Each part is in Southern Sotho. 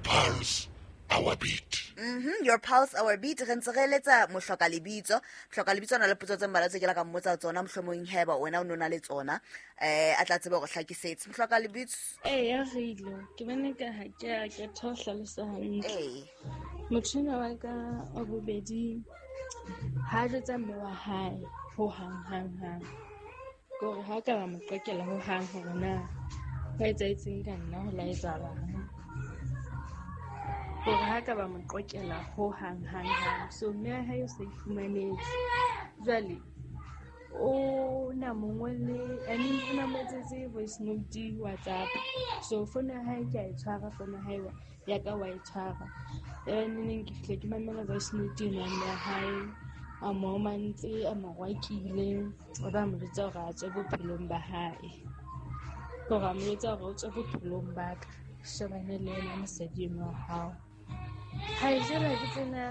pulse, our beat. Your pulse, our beat. Re ntse re eletsa mohloka lebitso. Mohloka lebitso o na le potso tse mmalwa tse ke la ka mmotsa tsona, mohlomong heba wena o no na le tsona, a tla tseba hore hlakisetse. Mohloka lebitso. Eya, Rilo, ke bone ka ha ke a kgetha ho hlalosa hantle. Motho enwa wa ka wa bobedi ha jwetsa mme wa hae ho hang hang hang. Ke hore ha ka ba mo qekela ho hang hore na ho etsahetseng ka nna, ho la etsahalang. Hore ha ka ba mo qokela ho hang hang hang. So mme wa hae o sa ifumanetse. Jwale o na mo ngolle, I mean o na mo etsetse voice note WhatsApp. So phone ya hae ke a e tshwara, phone ya hae ya ka wa e tshwara. Ebe neneng ke fihle ke mamela voice note eno ya mme wa hae, a mo omantse, a mo rwakile, o ba mo jwetsa hore a tswe bophelong ba hae. Hore a mo jwetsa hore o tswe bophelong ba ka, shebane le yena mosadi enwa wa hao. Hai, jwale ke tsena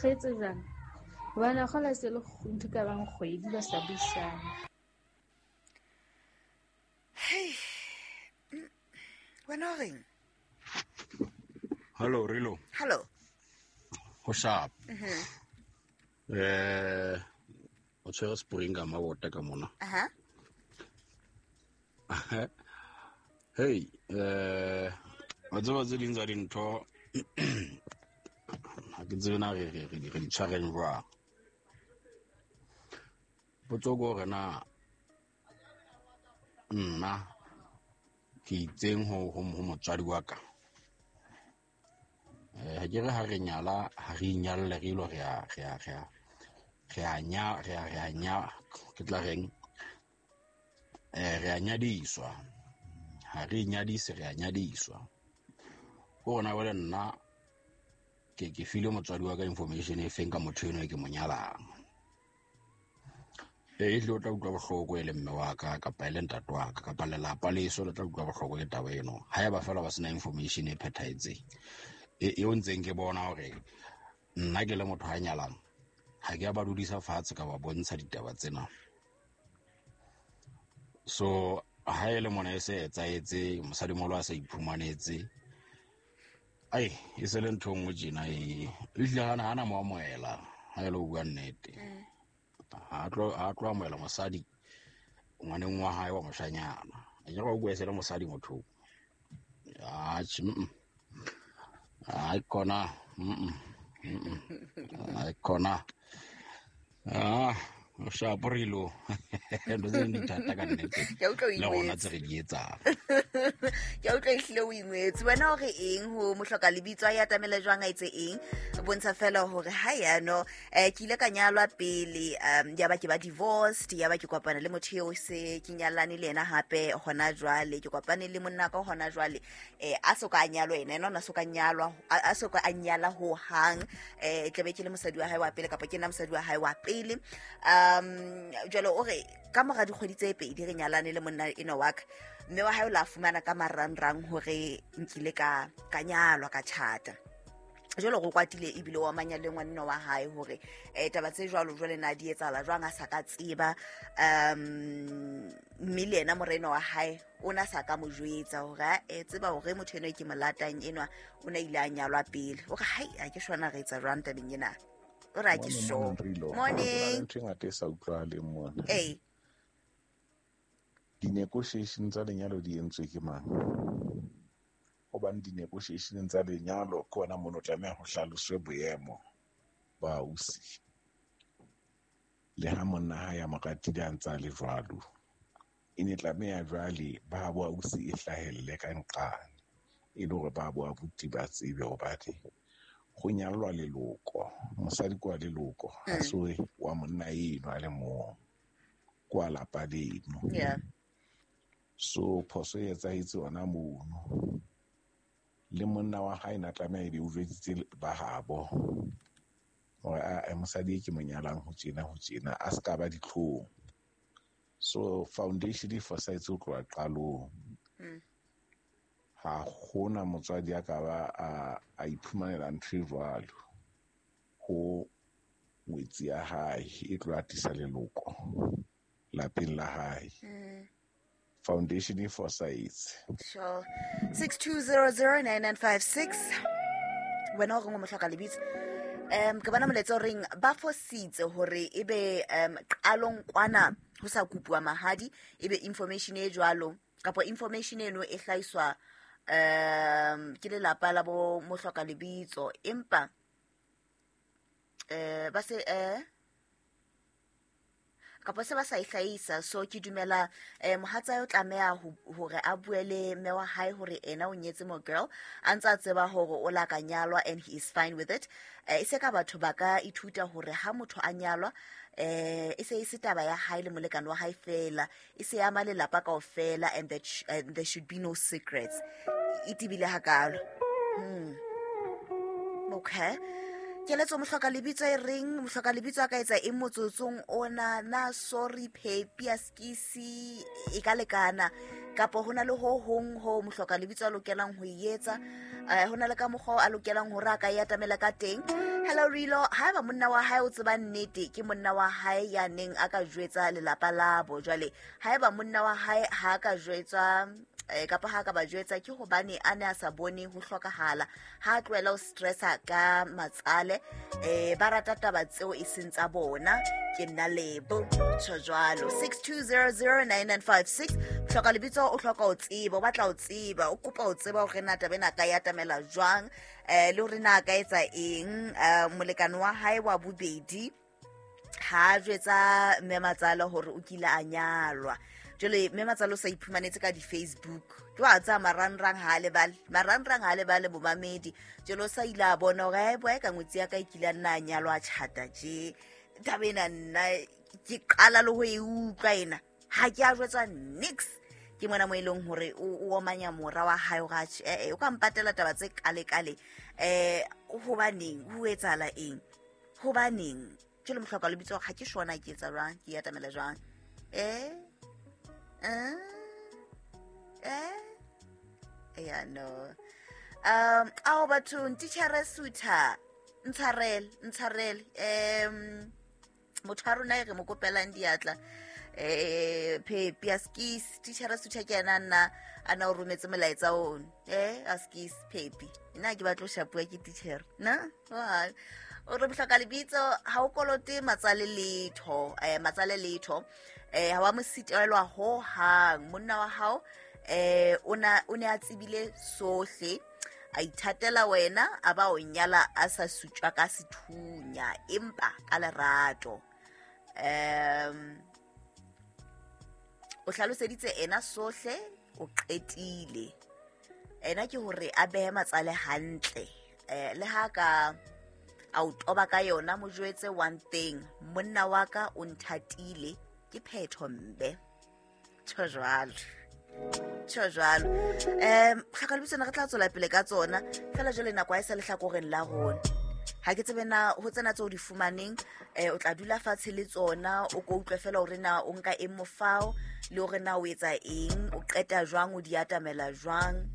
re etse jwang? Hobane kgola se le ntho e ka bang kgwedi ba sa buisane. Hey. Wena o reng? Hello, Rilo. Hello. Ho sharp. O tshwere spring ka mabota ka mona. Aha. Hey, wa tseba tse ding tsa dintho ha ke tsebe na re di tshwareng jwang. Potso ke hore na nna ke itseng ho motswadi wa ka. Ha ke re ha re nyala, ha re inyalle, re ilo re a, re a, re a, re a nya, re a, re a nya, ke tla reng? Re a nyadiswa. Ha re inyadise, re a nyadiswa. Ko rona jwale nna ke file motswadi wa ka information e feng ka motho enwa e ke mo nyalang. Ehlile o tla utlwa bohloko e le mme wa ka, kapa e le ntate wa ka, kapa lelapa leso le tla utlwa bohloko ke taba eno. Haeba feela ba sena information e phethahetseng. Eo ntseng ke bona hore nna ke le motho a nyalang, ha ke a ba dudisa fatshe ka ba bontsha ditaba tsena. So ha e le mona e se etsahetse, mosadimoholo a sa iphumanetse, ai, e se le ntho e nngwe tjena e. Ehlile hana mo amohela, ha e le ho bua nnete. Ha tlo amohela mosadi ngwaneng wa hae wa moshanyana. A ke re o bua e se le mosadi motho. Atjhe, mm-mm. Ai, kona. Mm-mm. Mm-mm. Ai, kona. Ah, o shapo re ilo. Ntho tse ding di thata ka nnete. Ke a utlwa o Le rona ingwetse. tse re di etsang. Ke a utlwa ehlile o ingwetse. Wena o re eng ho mohloka lebitso, a e atamele jwang, a etse eng? Bontsha fela hore ha yano, ke ile ka nyalwa pele, ya ba ke ba divorced, ya ba ke kopana le motho eo se ke nyalane le yena hape hona jwale, ke kopane le monna ka hona jwale, a so ka a nyalwa yena, ena o na so ka nyalwa, a so ka a nyala ho hang, tlabe ke le mosadi wa hae wa pele, kapa ke nna mosadi wa hae wa pele. Jwale o re ka mora dikgwedi tse pedi re nyalane le monna enwa wa ka, mme wa hae o la fumana ka marangrang hore nkile ka nyalwa, ka tjhata. Jwale go kwatile ebile wa manya le ngwaneno wa hae hore, taba tse jwalo jwale na di etsahala jwang a sa ka tseba. Mme le yena moreno wa hae o na sa ka mo jwetsa hore, a, tseba hore motho enwa e ke mo latang enwa o na ile a nyalwa pele. O re, hai, ha ke sure na re etsa jwang tabeng ena. O re, ha ke Morning, sure. morning, Rilo. Morning. Ho na le ntho e ngata e sa utlwahaleng mona. Ee. Di-negotiation tsa lenyalo di entswe ke mang? Hobane di-negotiation tsa lenyalo ke hona mono tlameha ho hlaloswe boemo ba ausi. Le ha monna hae a mo ratile a ntse a le jwalo, e ne tlameha jwale ba bo ausi e hlahelle ka nqane, e le hore ba bo abuti ba tsebe hobane ho nyallwa leloko, mosadi ke wa leloko, ha se wa monna eno a le mong, ke wa lapa leno. So phoso e etsahetse hona mono. Le monna wa hae na tlameha ebe o jwetsitse ba habo hore, a, mosadi e ke mo nyalang ho tjena, ho tjena, a se ka ba ditlhong. So foundation e fosahetse ho tloha qalong. Ha hona motswadi a ka ba a iphumanela ntho e jwalo ho ngwetsi ya hae e tlo atisa leloko lapeng la hae. Foundation e fosahetse. Sure. 62009956. Wena o reng o mohloka lebitso? Ke bona molaetsa o reng ba fositse hore ebe qalong kwana ho sa kopuwa mahadi, ebe information e jwalo kapa information eno e hlahiswa ke lelapa la bo mohloka lebitso, empa ba se kapa se ba sa e hlahisa. So ke dumela mohatsa o tlameha hore a bue le mme wa hae hore ena o nyetse mo girl a ntse a tseba hore o la ka nyalwa, and he is fine with it. E se ka batho ba ka ithuta hore ha motho a nyalwa, e se e se taba ya hae le molekane wa hae fela, e se ama lelapa kaofela, and that and there should be no secrets. E tebile hakalo. Okay, keletso mohloka lebitso e reng mohloka lebitso a ka etsa eng motsotsong ona? Na sorry phepi a skisi e ka lekana, kapa ho na le ho hong ho mohloka lebitso a lokelang ho e etsa? Ho na le ka mokgwa o a lokelang hore a ka e atamela ka teng? Hello Rilo, haeba monna wa hae o tseba nnete, ke monna wa hae ya neng a ka jwetsa lelapa labo. Jwale haeba monna wa hae ha a ka jwetswa, kapa ha ka ba jwetsa, ke hobane a ne a sa bone ho hlokahala. Ha a tlohela ho stressa ka matsale, ba rata taba tseo e seng tsa bona. Ke nna Lebo, tjho jwalo. 62009956. Hloka lebitso o hloka ho tseba, o batla ho tseba, o kopa ho tseba hore na taba ena a ka e atamela jwang, le hore na a ka etsa eng. Molekane wa hae wa bobedi ha a jwetsa mme matsala hore o kile a nyalwa. Jwale mme matsala o sa iphumanetse ka di-Facebook, ke wa tsaya marangrang ha a lebale, marangrang ha a lebale bomamedi. Jwale o sa ile a bona hore ae boe ka ngwetsi ya ka e kile a nna a nyalwa, a tjhata tje. Taba ena nna ke qala le ho e utlwa ena, ha ke a jwetswa nix. Ke mona mo e leng hore o omanya mora wa hae hore atjhe, o ka mpatela taba tse kale-kale. Hobaneng ho etsahala eng? Hobaneng? Jwale mohloka lebitso ha ke shona ke etsa jwang, ke atamela jwang? Ya no. Ao bathong, titjhere Sutha, ntshwarele, ntshwarele. Motho wa rona e re mo kopelang diatla, phepi a skis, titjhere Sutha ke yena nna a na o rometse molaetsa ono. A skis phepi, nna ke batla ho shapuwa ke titjhere na. O re mohloka lebitso ha o kolote matsale letho, matsale letho, ha wa mo sitelwa ho hang. Monna wa hao o ne a tsebile sohle, a ithatela wena, a ba o nyala a sa sutjwa ka sethunya, empa ka lerato. O hlaloseditse ena sohle, o qetile. Ena ke hore a behe matsale hantle, le ha ka a o toba ka yona, mo jwetse one thing: monna wa ka o nthatile, ke phetho mbe. Tjho jwalo, tjho jwalo. Tlhoka lebitso re tla tswela pele ka tsona fela jwale nako ha e sa lehlakoreng la rona. Ha ke tsebe na ho tsena tseo di fumaneng, o tla dula fatshe le tsona, o ko utlwe fela hore na o nka eng mofao, le hore na o etsa eng, o qeta jwang, o di atamela jwang.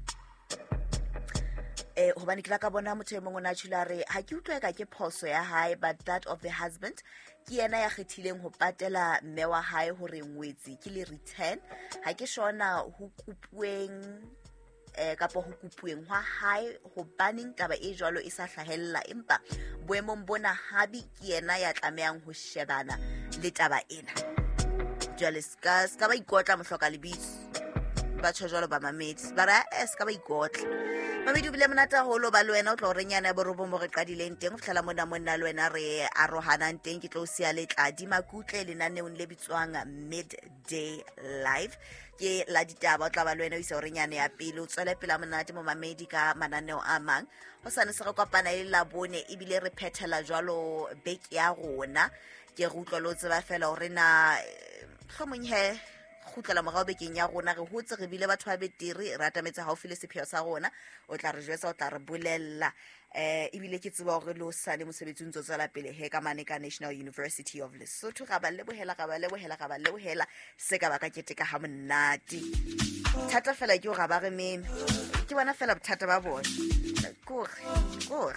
Hobane ke la ka bona motho e mong o na tjhula re ha ke utlwe ka ke phoso ya hae, but that of the husband. Ke yena ya kgethileng ho patela mme wa hae hore ngwetsi ke le return. Ha ke shona ho kopuweng, kapa ho kopuweng hwa hae, hobaneng taba e jwalo e sa hlahella, empa boemong bona habi ke yena ya tlamehang ho shebana le taba ena. Jwale ska ba ikotla mohloka lebitso, ba tjho jwalo ba mamedi, ba re ska ba ikotla. Mamedi o bile monate haholo ba le wena, o tlo re nyana ya borobong mo re qadileng teng ho fihlela mona monna le wena re arohanang teng. Ke tlo o siya le Tladi Makutle lenaneong le bitswang Midday Live, ke la ditaba. O tla ba le wena o isa hore nyane ya pele, o tswele pele ha monate mo mamedi ka mananeo a mang. Ho sane se re kopana e le Labone, ebile re phethela jwalo beke ya rona. Ke re utlwa le o tseba fela hore na mohlomong he kgutlela morao bekeng ya rona, re hotse re bile batho ba betere, re atametse haufi le sepheo sa rona. O tla re jwetsa, o tla re bolella. Ebile ke tseba hore le o sale mosebetsi o ntso tswela pele he ka mane ka National University of Lesotho. Ra ba lebohela, ra ba lebohela, ra ba lebohela, se ka ba ka keteka ha monate. Thata fela ke hore ha ba re meme, ke bona fela bothata ba bona. Kore, kore.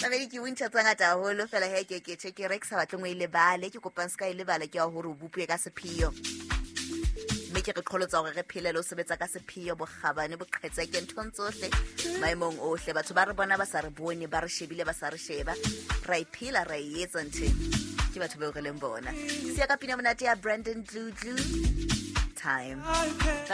Mamedi ke bontšha tse ngata haholo fela he ke ke tjhe ke re ke sa batleng o e lebale, ke kopang se ka e lebala, ke ya hore o bopuwe ka sepheo. Mme Beke re qholotsa hore re phele le ho sebetsa ka sepheo, bokgabane, boqhetseke nthong tsohle, maemong ohle. Batho ba re bona ba sa re bone, ba re shebile ba sa re sheba. Ra e phela, ra e etsa ntho. Ke batho bao re leng bona. Siya ka pina monate ya Brandon Dludlu. Time. Bye.